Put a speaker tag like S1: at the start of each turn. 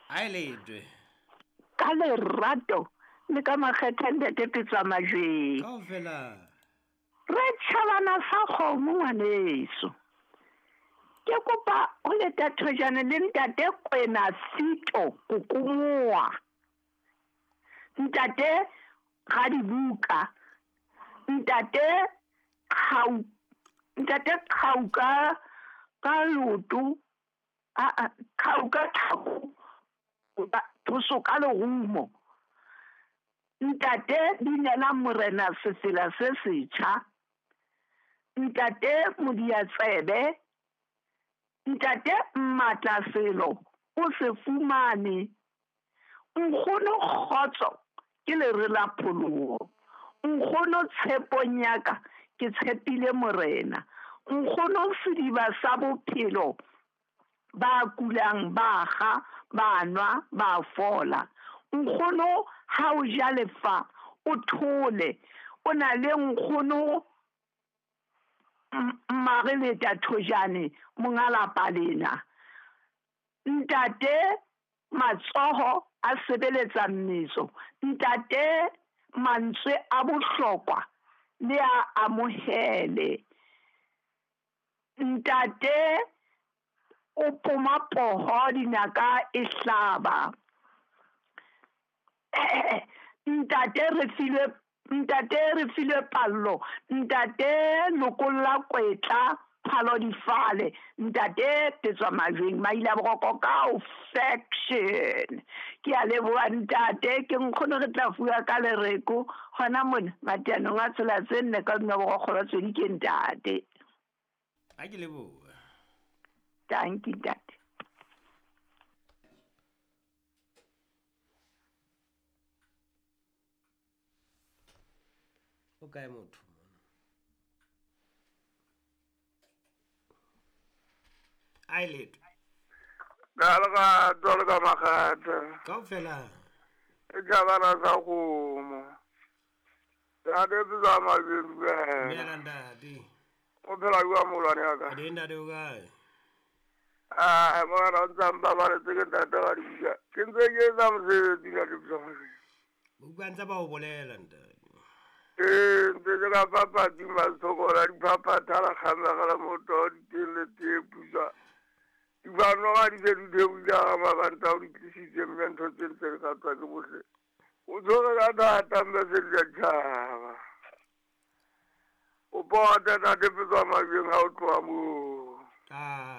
S1: A e letwe.
S2: Ka lerato le ka makgetha ntate Petswa Majweng.
S1: Kaofela.
S2: Re tjhabana sa kgomo ngwaneso. Ke kopa ho leta thojane le ntate Kwena Sito Kokomoa. Ntate Radibuka. Ntate Qhau Ntate Qhauka ka loto a Qhauka tlhako thoso ka lerumo. Ntate Binela Morena sefela se setjha. Ntate Modiatsebe. Ntate Mmatla selo o se fumane. Nkgono kgotso ke lere la pholoho. Nkgono tshepong ya ka ke tshepile Morena. Nkgono sediba sa bophelo ba kulang ba kga ba nwa ba fola. Nkgono ha o ja lefa o thole. O na le nkgono Mmareleta Thojane monga lapa lena. Ntate matsoho a sebeletsa mmetso. Ntate mantswe a bohlokwa le a amohele. Ntate o poma poho dinaka e hlaba. Ntate re filwe Ntate re filwe pallo. Ntate lokolla kwetla phalo difale. Ntate Petswa Majweng maila boroko ka o faction. Ke a leboha ntate ke nkgono re tla fuwa ka lereko hona mona mateanong a tsela tse nne ka hodima borokgo ba tswedi ke ntate.
S1: A ke leboha.
S2: Dankie ntate.
S1: O kae motho mona? A e letwe.
S3: Ka lerato le ka makgetha.
S1: Kaofela.
S3: E tjhabana sa kgomo. Ntate Petswa Majweng dumela.
S1: Dumela ntate.
S3: O phela jwang moholwane wa ka?
S1: Re teng ntate o kae?
S3: Ah, morena o ntsa mpabaletse ke ntate wa dibuka. Ke ntse ke etsa mosebetsi ntate Petswa Majweng.
S1: Buka ntse ba o bolela ntate.
S3: Ee, ntse ke ka papatsi masokola diphaphatha la kgamegela moto diteng le tee pusa. Difanoga di se di theohile ga mabanta o di tlisitse mme ntho tse ntse di ratwa ke bohle. O tshwere ka thata mme se di tjhaba. O pote ntate Petswa Majweng ha o tloha moo.
S1: Ah.